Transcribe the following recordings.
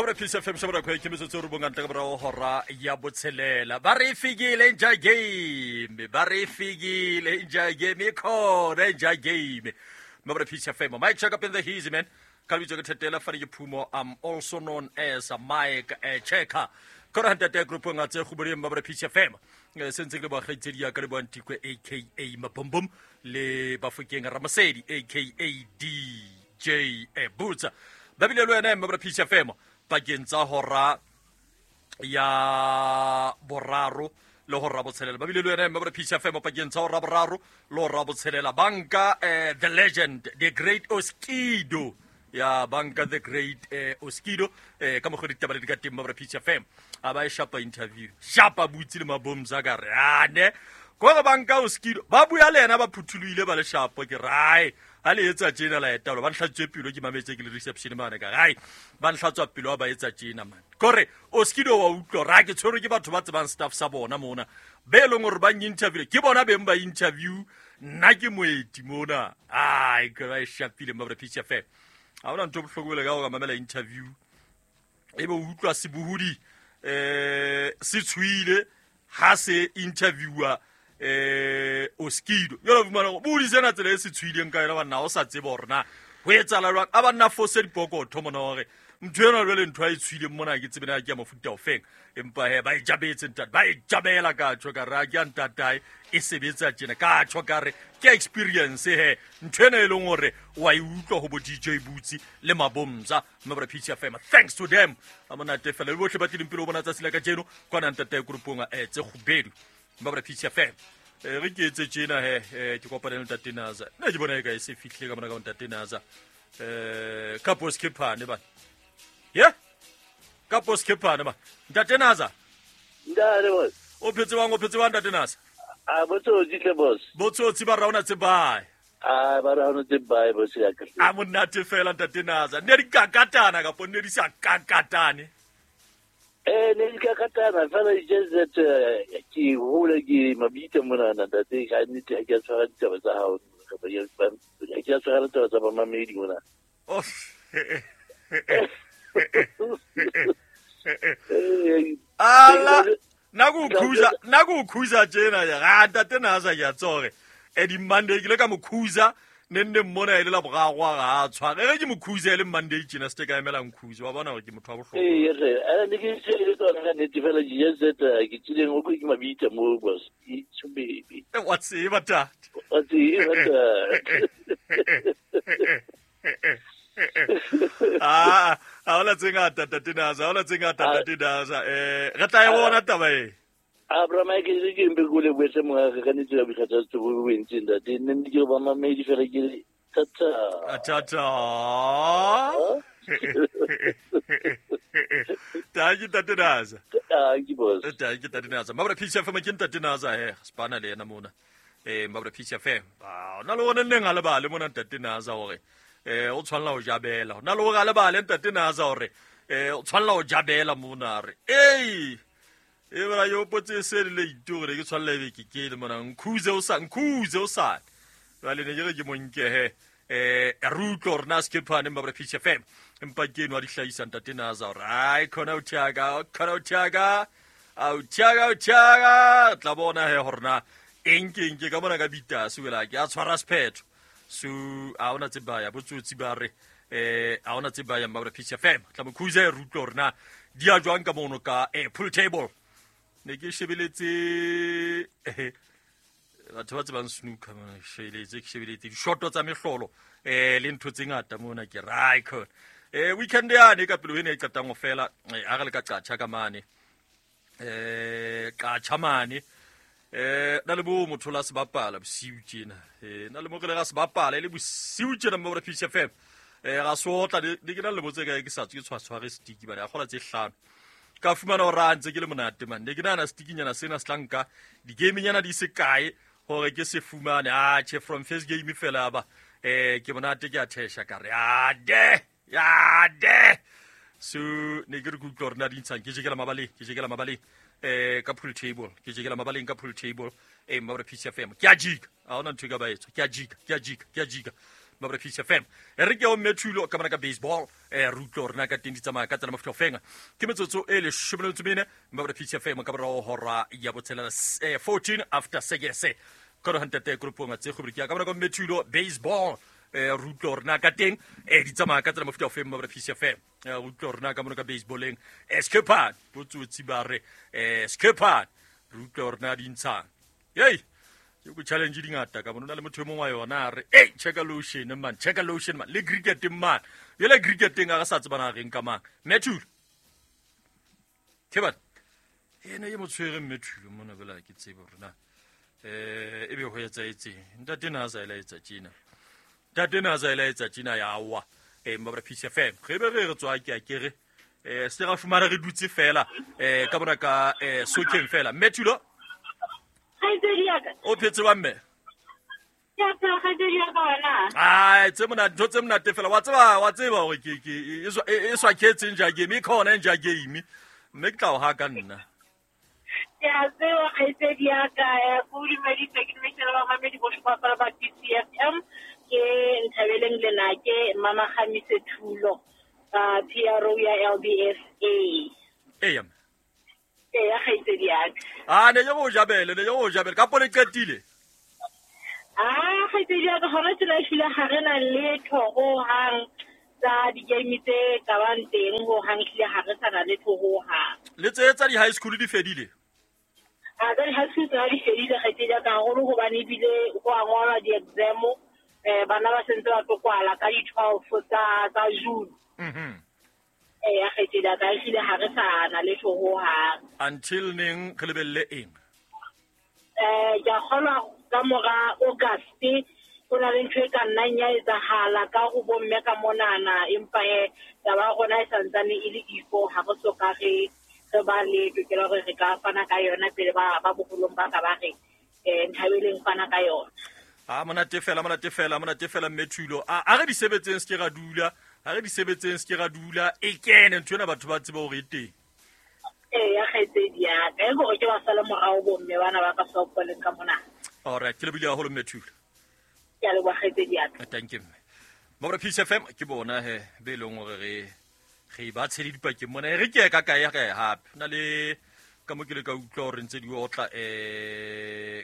Cobra Peace FM shabara kwa ke metsotso re bonga ntle ka morago hora ya botshelela. Ba re fikile nja game, ba re fikile nja game e khona nja game. Cobra Peace FM. Mike check up in the heezy man. Ka lebitso ke Thetela Fane ke Phumo. I'm also known as Mike Checker. Kora ntate group nga tse go Cobra Peace FM. Se ntse ke le boagaitsedi ya ka le boantikwe aka Mabombom le Bafokeng Ramasedi aka DJ Butsa. Ba bile le wena Cobra Peace FM pakeng tsa hora ya boraro le hora botshelela. Ba bile le wena Cobra Peace FM pakeng tsa hora boraro le hora botshelela. Banka the legend, the great Oskido. Ya banka the great Oskido ka mokgwa ditaba le di ka teng Cobra Peace FM. A ba e shapa interview. Shapa butse le mabomza ka re ane. Ko re banka Oskido ba bua le yena ba phuthulohile ba le shapo ke rae. Ha le etsa tjena la etalo ba nhlatswe pelo ke mametse ke le reception mane ka rae. Ba nhlatswa pelo ba etsa tjena man. Kore Oskido wa utlwa ra ke tshwerwe ke batho ba tsebang staff sa bona mona. Be leng hore ba interview ke bona beng ba interview nna ke moeti mona. Ai ke ba e shapile Cobra Peace FM. Ha hona ntho bohloko le ka go mamela interview e be o utlwa sebohodi se tshwile ha se interviewer Oskido. Jwale o fumana hore bohodi sena tsela e se tshwileng ka yona banna o sa tsebe hore na ho etsahala jwang. A banna fose dipokotho mona hore ntho ena jwale ntho a e tshwileng mona ke tsebe na ke ya mofuta ofeng. Empa he ba e jabetse ntate, ba e jabela ka tjho ka re a ke ya ntatae e sebetsa tjena ka tjho ka re ke experience he ntho ena e leng hore wa e utlwa ho bo DJ Butsi le Mabomza Cobra Peace FM. Thanks to them. A monate fela le bohle ba tlileng pele ho bona tsatsi la kajeno kwana ntatae grupong tse kgubedu Cobra Peace FM. Re ke etse tjena he ke kopane le ntate Naza. Nna ke bona e ka e se fihlile ka mona ka ntate Naza. Ka Boskephane ba. Ye? Ka Boskephane ba. Ntate Naza. Ntate boss. O phetse bang, o phetse bang ntate Naza? A botsotsi tle boss. Botsotsi ba raona tse bae. A ba raona tse bae boss ya ka. A monate fela ntate Naza. Ne di kakatana kapo ne di sa kakatane. Ne di kakatana fela it's just that ke hole ke mabitla mona ntate ka nnete ha ke a tshwara ditaba tsa hao. Ke a tshwara ditaba tsa bamamedi mona. Oh. Ala nakukhuza tjena ya ga ntate Naza ke a tsore e di Monday ke le ka mokhuza ne nne mmona e le la boraro ga a tshware re ke mokhuza e le Monday tjena se ka emela nkhuza wa bona hore ke motho wa bohlokwa. Ee re ana ne ke se le tsona ka nnete fela just that ke tsileng o ke mabitla mo boss it's baby wa tseba tate wa tseba tate. Ah, ha hona tse ngata ntate Naza, ha hona tse ngata ntate Naza. Re tla e bona taba e. A bra Mike ke ke mpe go le bwetse mo ga ka netse ya bikgathatso bo bo entseng ntate. Nne ne ke ba mamedi fela ke tata. Tata. Thank you ntate Naza. Thank you boss. Thank you ntate Naza. Mabra Peace FM ke ntate Naza he, spana le yena mona. Mabra Peace FM. Ba na le ona neng a lebale mona ntate Naza hore o tshwanela ho jabela. Na le hore a lebale ntate Naza hore o tshwanela ho jabela mona re. Ei! E bra yo potse se le itore ke tshwanela ebe ke ke le mona nkhuze o sa nkhuze o sa. Jwale ne ke re ke monke he. Re utlwe hore na Skephane Mabra Peace FM. Empa ke enwa di hlahisa ntate Naza hore ai khona o thiaka, khona o thiaka. Au thiaka, au thiaka. Tla bona he hore na eng ke eng ke ka mona ka bitase wela ke a tshwara sephetho. So a hona tse baya botsotsi ba re a hona tse baya Mabra Peace FM. Tla mokhuze re utlwe hore na di a jwang ka mono ka pool table. Ne ke shebeletse batho ba tsebang snooker mona ke shebeletse dishoto tsa mehlolo le ntho tse ngata mona ke right khona. Weekend yane ka pelo ene e qetang ho fela ha re le ka qatjha ka mane. Qatjha mane. Na le bo motho la sebapala bosiu tjena. Na le mo re le ga sebapala e le bosiu tjena Mabra Peace FM. Ga sotla ne ke na le botse ka ke sa tswe ke tshware stick bana ya kgola tse hlano. Ka fumana hore a ntse ke le monate man. Ne ke nahana stickinyana sena se tla nka di-game-nyana di se kae hore ke se fumane. Ah, che from first game fela ba. Ke monate ke a thesha ka re ade ade. So ne ke re ke utlwa hore na di ntshang ke jekela mabaleng, ke jekela mabaleng. Ka pool table, ke jekela mabaleng ka pool table. Mabra Peace FM. Ke a jika. Ha hona ntho e ka ba etswa. Ke a jika, ke a jika, ke a jika. Ba re Peace FM. E re ke o mme Thulo ka mona ka baseball, re utlwe hore na ka teng di tsamaya ka tsela mofuta ofeng. Ke metsotso e leshome le metso mene ba re Peace FM ka morao hora ya botshelela, 14 after sekese. Ka re hantate grupong tse go ke ka mona ka mme Thulo baseball, re utlwe hore na ka teng di tsamaya ka tsela mofuta ofeng ba re Peace FM. Re utlwe hore na ka mona ka baseballeng, Skepan botsotsi ba re Skepan, re utlwe hore na di ntshang. Hey, ke go challenge di ngata ka bona le motho e mongwe wa yona a re ei, checka lotion man, checka lotion man, le cricket man, yele cricketeng a re sa tsebana reng ka mang. Mme Thulo ke bana ene e mo tshwere mme Thulo mona bela ke tsebe hore na e be ho etsaetseng. Ntate na a sa elaetsa tjena, ntate na a sa elaetsa tjena ya wa mba re Peace FM re be re re tswa ke a kere se ra fumana re dutse fela ka bona ka sokeng fela. Mme Thulo o phetse wa mme? Ai, tse monate, ntho tse monate fela. Wa tseba hore ke e swaketseng ja game, e khona ja game. Mme ke tla o ha ka nna. Ke a tseba kgaitsedi ya ka, ko dumedise ke dumedise le bamamedi bohle ba ba PCFM. Ke Nthabeleng Lenake, Mama Kgamise Thulo, PRO ya LBSA. Eya. Eya kgaitsedi ya ka. Ah, ne yo jabele, ne yo jabele. Ka pone qetile. Ah, kgaitsedi ya ka hona tjena ehlile ha re na letho ho hang tsa di-game tse ka bang teng ho hang, ehlile ha re sa na letho ho hang. Le tse tsa di-high school di fedile? A tsa di-high school tsona di fedile kgaitsedi ya ka, haholo hobane ebile ho a ngolwa di-exam, bana ba sentse ba tlo kwala ka di-12 tsa June. Eya kgaitsedi ya ka, ehlile ha re sa na letho ho hang. Until neng re lebelle eng? Ke a kgolwa ka mora August ho na le ntho e ka nnang ya etsahala ka ho bomme ka monana, empa taba ya rona e santsane e le ifo, ha re soka re ba le tokelo hore re ka fana ka yona pele ba boholong ba ka ba re Nthabeleng fana ka yona. Ah, monate fela, monate fela, monate fela mme Thulo. A re di sebetseng se ke ra dula, a re di sebetseng se ke ra dula, e kene ntho ena batho ba tsebe hore e teng. Eya kgaitsedi ya ka, e hore ke ba sale morao bomme bana ba ka softballeng ka mona. All right, ke lebohile haholo mme Thulo. Ke a leboha kgaitsedi ya ka. Thank you mme. Mabra Peace FM ke bona he be leng hore re ba tshele dipakeng mona, re ke ka kae kae hape. Na le ka mo ke le ka utlwa hore ntse di otla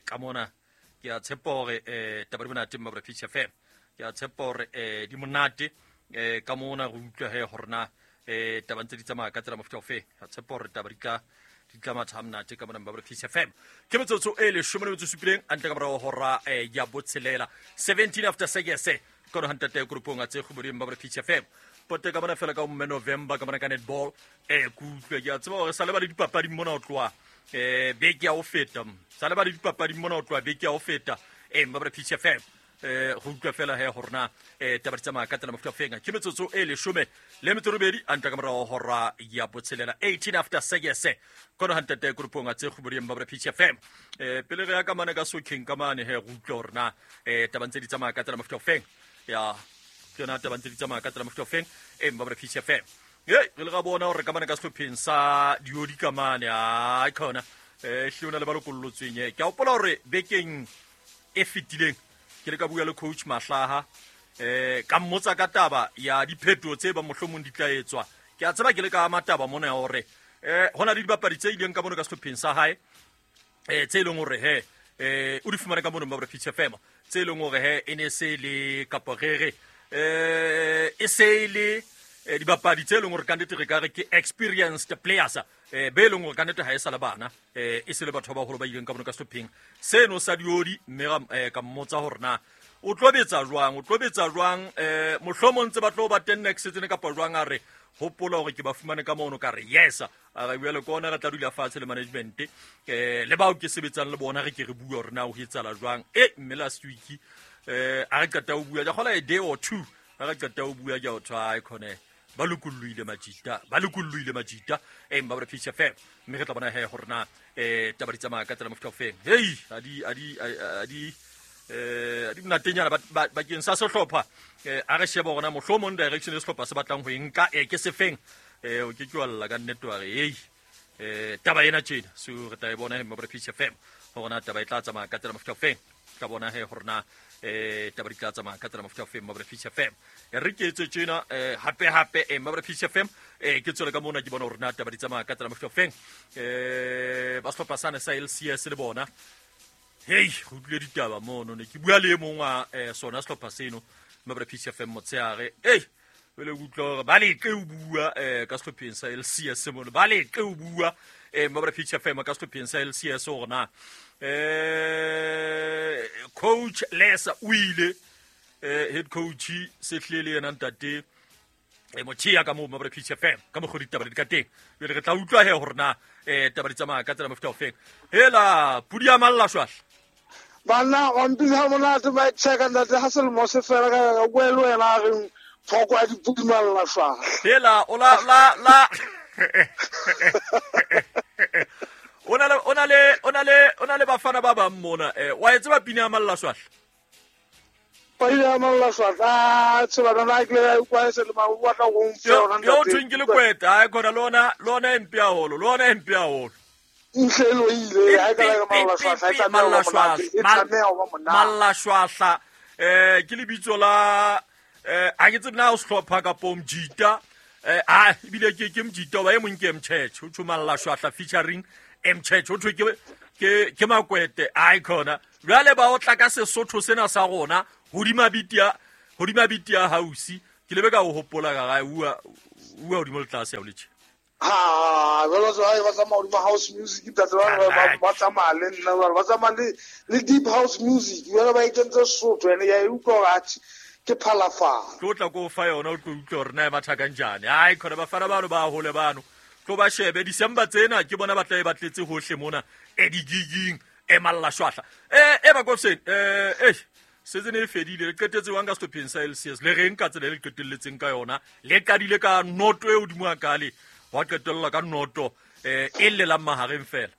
ka mona. Ke a tshepa hore taba di monate Mabra Peace FM. Ke a tshepa hore di monate ka mona re utlwa he hore na taba ntse di tsamaya ka tsela mofuta ofe. Ke a tshepa hore taba di tla matha monate ka mona Mabra Peace FM. Ke metsotso e leshome le metso supileng antle ka morao hora ya botshelela, 17 after sekese. Ka no hantate grupong a tse kgoboding Mabra Peace FM. Pote ka bona fela ka mme November ka bona ka netball, ke utlwe ke a tseba hore sa le ba le dipapadi mona ho tloha beke ya ho feta. Sa le ba le dipapadi mona ho tloha beke ya ho feta. Mabra Peace FM. Go utlwa fela he hore na taba di tsamaya ka tsela mofuta ofeng. Ke metsotso e leshome le metso robedi antle ka morao hora ya botshelela, 18 after sekese. Kono hantate grupong a tse kgoboding Mabra Peace FM. Pele re ya ka mane ka sokheng ka mane he go utlwa hore na taba ntse di tsamaya ka tsela mofuta ofeng. Ya ke yona taba ntse di tsamaya ka tsela mofuta ofeng. Mabra Peace FM. Hey, re le ga bona hore ka mane ka sehlopheng sa diodi ka mane, ai khona hle ona le ba lokollotsweng. Ke a hopola hore bekeng e fetileng ke le ka bua le coach Mahlaha, ka mmotsa ka taba ya diphetoho tse ba mohlomong di tla etswa. Ke a tseba ke le ka mataba mona ya hore hona le dibapadi tse ileng ka mono ka sehlopheng sa hae, tse leng hore he o di fumane ka mono Mabra Peace FM, tse leng hore he e ne se le kapa re re e se le dibapadi tse leng hore ka nnete re ka re ke experienced players, be leng hore ka nnete ha e sa le bana, e se le batho ba baholo ba ileng ka mono ka sehlopheng seno sa diodi. Mme ka mmotsa hore na o tlo betsa jwang, o tlo betsa jwang, mohlomong ntse ba tlo ba teng next season kapa jwang. A re hopola hore ke ba fumane ka mono, ka re yes. A re bua le kona re tla dula fatshe le management, le bao ke sebetsang le bona, re ke re bua hore na ho etsahala jwang. Mme last week a re qeta ho bua, ke kgola a day or two, a re qeta ho bua ke a o tshwa khone ba lokollohile majita, ba lokollohile majita. Mabra Peace FM. Mme re tla bona he hore na taba di tsamaya ka tsela mofuta ofeng. Hey, a di monatenyana bakeng sa sehlopha. A re shebe hore na mohlomong direction e sehlopha se batlang ho e nka ke sefeng. O ke ke wa lla ka nnete wa re hey, taba ena tjena. So re tla e bona he Mabra Peace FM hore na taba e tla tsamaya ka tsela mofuta ofeng. Tla bona he hore na Taba di tla tsamaya ka tsela mofuta o feng Mabra Peace FM. Re ke etse tjena hape hape Mabra Peace FM ke tswele ka mona ke bona hore na taba di tsamaya ka tsela mofuta o feng. Ba sehlopha sane sa LCS le bona. Hei, go utlwile ditaba mono ne ke bua le e mong wa sona sehlopha seno Mabra Peace FM motshehare. Ei, pele ke utlwa hore ba leqe o bua ka sehlopheng sa LCS mono, ba leqe o bua Mabra Peace FM ka sehlopheng sa LCS hore na coach Lesa o ile head coach sehle le yena ntate motšhea ka moo Mabra Peace FM ka mokgwa ditaba di ka teng. Jwale re tla utlwa he hore na taba di tsamaya ka tsela mofuta o feng. Hela pudi ya malla shwahla. Banna wa mpitsa monate ba checka ntate ha selemo se fela ka bua le wena a reng thoko ya dipudi malla shwahla. Hela o la la la o na le bafana ba bang mona wa e tseba pina ya malla shwahla? Pina ya malla shwahla tseba nna ke le kwa se le ma wa tla go mfa yona ntate. Yo thweng ke le kweta ha khona lona lona empe haholo lona empe haholo. Nhlelo ile ha ka la malla shwahla e tlameha ho ba monate. Malla shwahla ke lebitso la ha ke tsebe na o sehlopha kapo mjita a ebile ke mjita ba e mong ke Mchurch o tho malla shwahla featuring Mchurch o thwe ke makwete ai khona. Jwale ba o tla ka Sesotho sena sa rona hodima bitia house ke lebe ka o hopola ka ga ua hodimo le tlase ya o letše. Ha jwalo jwale ba tsamaya hodima house music ntate ba tsamaya le nna ba tsamaya le deep house music jwale ba ikentse Sesotho ene ya e utlwa hore atjhe ke phalafala. Tlo tla ko fa yona o tlo utlwa hore na e matha kanjani. Ai khona bafana bano ba hole bano tlo ba shebe December tsena ke bona ba tla e batletse hohle mona e digiging e malla shwahla e ba kofsen season e fedile le qetetse wang ka sehlopheng sa LCS le reng ka tsela e le qetelletseng ka yona le qadile ka noto e hodimo hakale wa qetella ka noto e llelang mahareng fela.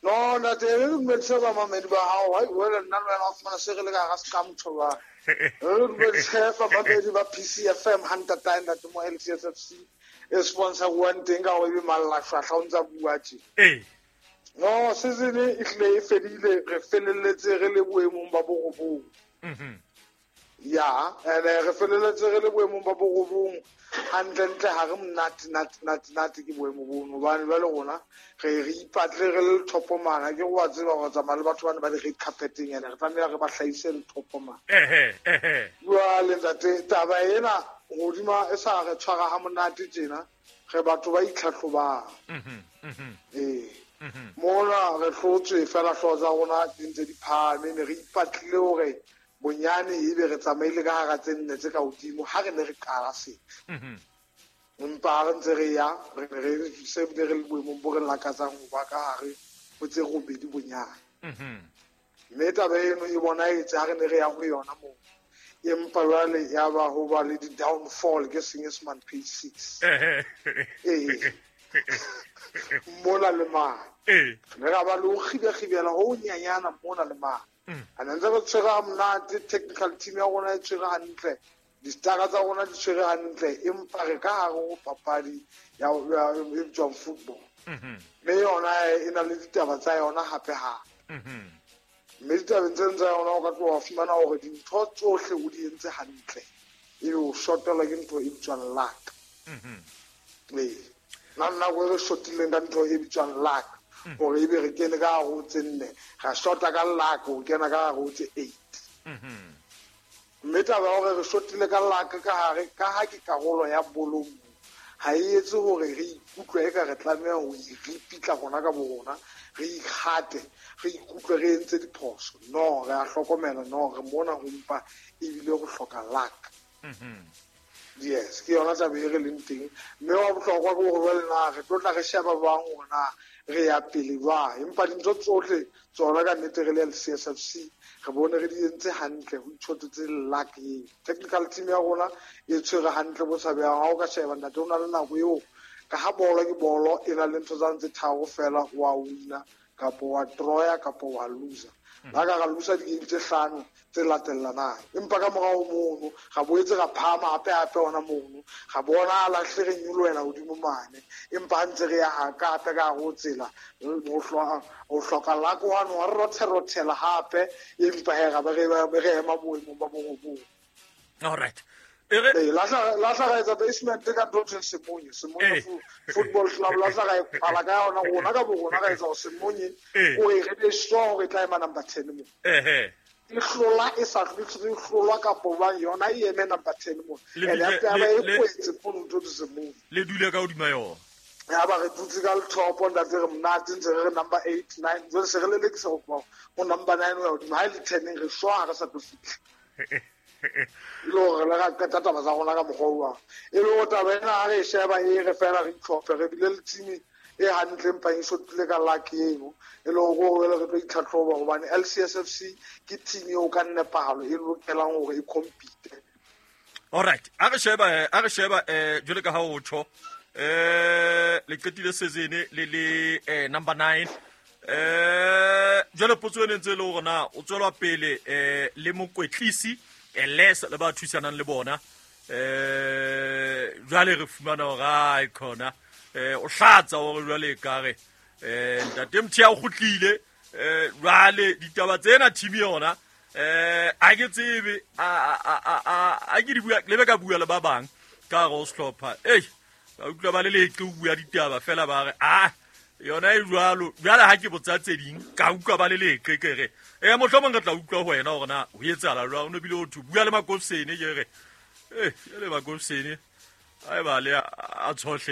No ntate re dumedise bamamedi ba hao hai wena nna le wena o fumana se re le ka hara seqamotho ba re dumedise bamamedi ba PCFM ha ntatae ntate mo LCS FC e sponsor one teng ka hore ebe malla shwahla o ntsa bua tje. No season e hlile e fedile re felelletse re le boemong ba borobong. Ya ene re felelletse re le boemong ba borobong hantlentle ha re monate nate ke boemo bono hobane jwale rona re ipatle re le thopomana ke wa tseba go tsamaya le batho bana ba di red carpeteng ene re tlameha re ba hlahise le thopomana. Jwale ntate taba ena hodima e sa re tshwara ha monate tjena re batho ba itlhahlobang. Mona re hlotswe fela hlooho tsa rona di ntse di phahame ne re ipatlile hore bonyane ebe re tsamaile ka hara tse nne tse ka hodimo ha re ne re qala se. Empa ha re ntse re ya re ne re se re le boemong bo re lakatsang ho ba ka hare ho tse robedi bonyane. Mme taba eno e bonahetse ha re ne re ya ho yona moo. Empa jwale ya ba ho ba le di-downfall ke Senyesemane page 6. Mona le mane. Re ra ba le ho kgibekgibela ho nyanyana mona le mane. A ntse re tshwere ha monate technical team ya rona e tshwere hantle distara tsa rona di tshwere hantle empa re ka hare ho papadi ya e bitswang football. Mme yona e na le ditaba tsa yona hape hape. Mme ditabeng tseno tsa yona o ka tloha wa fumana hore dintho tsohle o di entse hantle ebe o shotelwa ke ntho e bitswang luck. Nna nako e re shotileng ka ntho e bitswang luck hore ebe re kene ka hare ho tse nne ra shota ka luck ho kena ka hare ho tse 8. Mme taba ya hore re shotile ka luck ka hare ka ha ke karolo ya bolo ha e etse hore re ikutlwe eka re tlameha ho iripitla rona ka bo rona re ikgate re ikutlwe re entse diphoso. No re a hlokomela no re mona ho mpa ebile go hloka luck. Yes, ke yona taba e re leng teng. Mme wa bohlokwa ke hore jwale na re tlo tla re sheba bang hore na re ya pele jwang. Empa dintho tsohle tsona ka nnete re le LCSFC re bone re di entse hantle ho itshotetse luck eo. Technical team ya rona e tshwere hantle bo tshabehang. Ha o ka sheba ntate o na le nako eo ka ha bolo ke bolo e na le ntho tsa ntse tharo fela wa wina kapo wa draw kapo wa loser. La ka ra lusa di-game tse hlano tse latellanang. Empa ka morao mono ra boetse ra phahama hape-hape hona mono. Ra bonahala hle re nyolohela hodimo mane. Empa ha ntse re ya ka hape ka hare ho tsela ho hloka luck hwane wa re rothe-rothela hape empa he ra be re ema boemong ba borobong. All right. Lahla ra etsa basement ka ntho thweng Semonye, Semonye Football Club. Lahla ra e kwala ka yona rona ka bo rona ra etsa hore Semonye o e re be sure hore e tla ema number 10 mo. E hlola e sa hlolwa kapo bang yona e eme number 10 mo. And ya ba e kwetse mono ntho tse Semonye. Le dule ka hodima yona. Ya ba re dutse ka lethopo ntate re monate ntse re re number 8 9 jwale se re lelekisa ho tloha ho number 9 ho ya hodimo. Ha e le 10 re sure ha re sa tlo fihla. E le hore re ra qeta taba tsa rona ka mokgwa o jwang. E le hore taba ena ha re e sheba e re fela re itlhophe re bile le team e hantle empa e shotile ka luck eno. E le hore hore re tlo itlhatlhoba hobane LCSFC ke team eo ka nepahalo e lokelang hore e compete. All right. A re sheba jwale ka ha o tjho le qetile season le le number 9. Jwale potso ene ntse le hore na o tswelwa pele le mokwetlisi les le ba thusanang le bona jwale re fumana hore ai khona o hlatsa hore jwale ka re ntate Mthia o kgutlile jwale ditaba tsena team yona a ke tsebe a ke di bua le be ka bua le ba bang ka re o sehlopha ba utlwa ba le leqe o bua ditaba fela ba re a yona e jwalo jwale ha ke botsa tse ding ka utlwa ba le leqe ke re mohlomong re tla utlwa ho wena hore na ho etsahala jwang. O no bile o thwe bua le Makofsene ke re jwale Makofsene a e ba le a tshohle